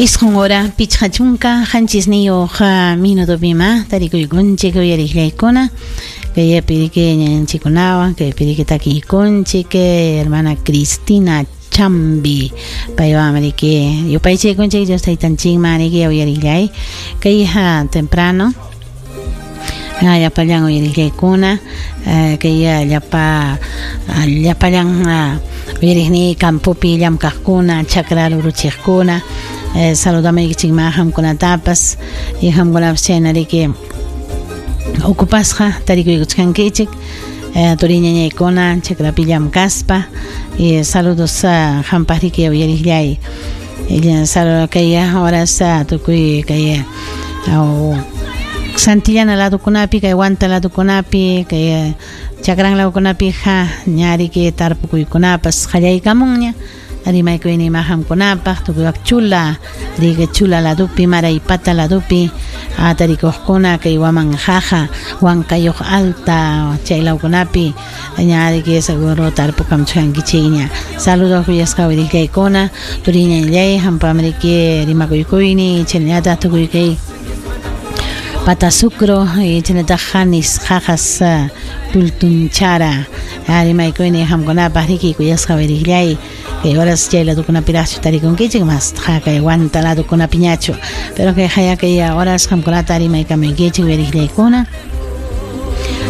Isqun hora 57 minutopima tarikuykunchik uyariqllaykuna kay piriki ñañanchikkunawan kay piriki takiykunchik hermana Cristina Chambi paywan riki yupaychaykunchik Dios taytanchikman riki uyariqllay kay temprano llapallan uyariqllaykuna kay llapa llapallan uyariqni campopi llamkaqkuna chakra ruruchiqkuna saludamaykichikman qamkunatapas y qamkunapas chayna riki ocupasqa tarikuykuchkankichik turiñañaykuna chakrapi llamkaspa y saludos qampaq riki uyariqllay saludo kay horas tukuy kay Santillana ladukunapi kay Huanta ladukunapi kay chakran ladukunapiqa ña riki tarpukuykunapas qallaykamunña rimaykuyni qamkunapaq tukuy chula riki chula ladupi Maraypata ladupi tarikuqkuna kay Wamanjaja Huancayuq alta chay lawkunapi ña riki seguro tarpukamchkankichikña saludos kuyasqa uyariqllaykuna turiñañallay hampam riki rimakuykuyni chaynallataq tukuy kay Patasucro y chaynallataq Janis Jajas Pultunchara rimaykuyni qamkunapaq riki kuyasqa uyariqllay kay horas chay ladukunapiraqchu tarikunkichik mas kay Huanta ladukunapiñachu pero kay haya kay horas qamkunata rimaykamuykichik uyariqllaykuna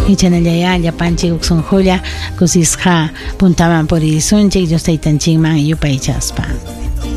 y chaynallaya llapanchik huk sunqulla kusisqa puntaman purisunchik Dios taytanchikman yupaychaspa.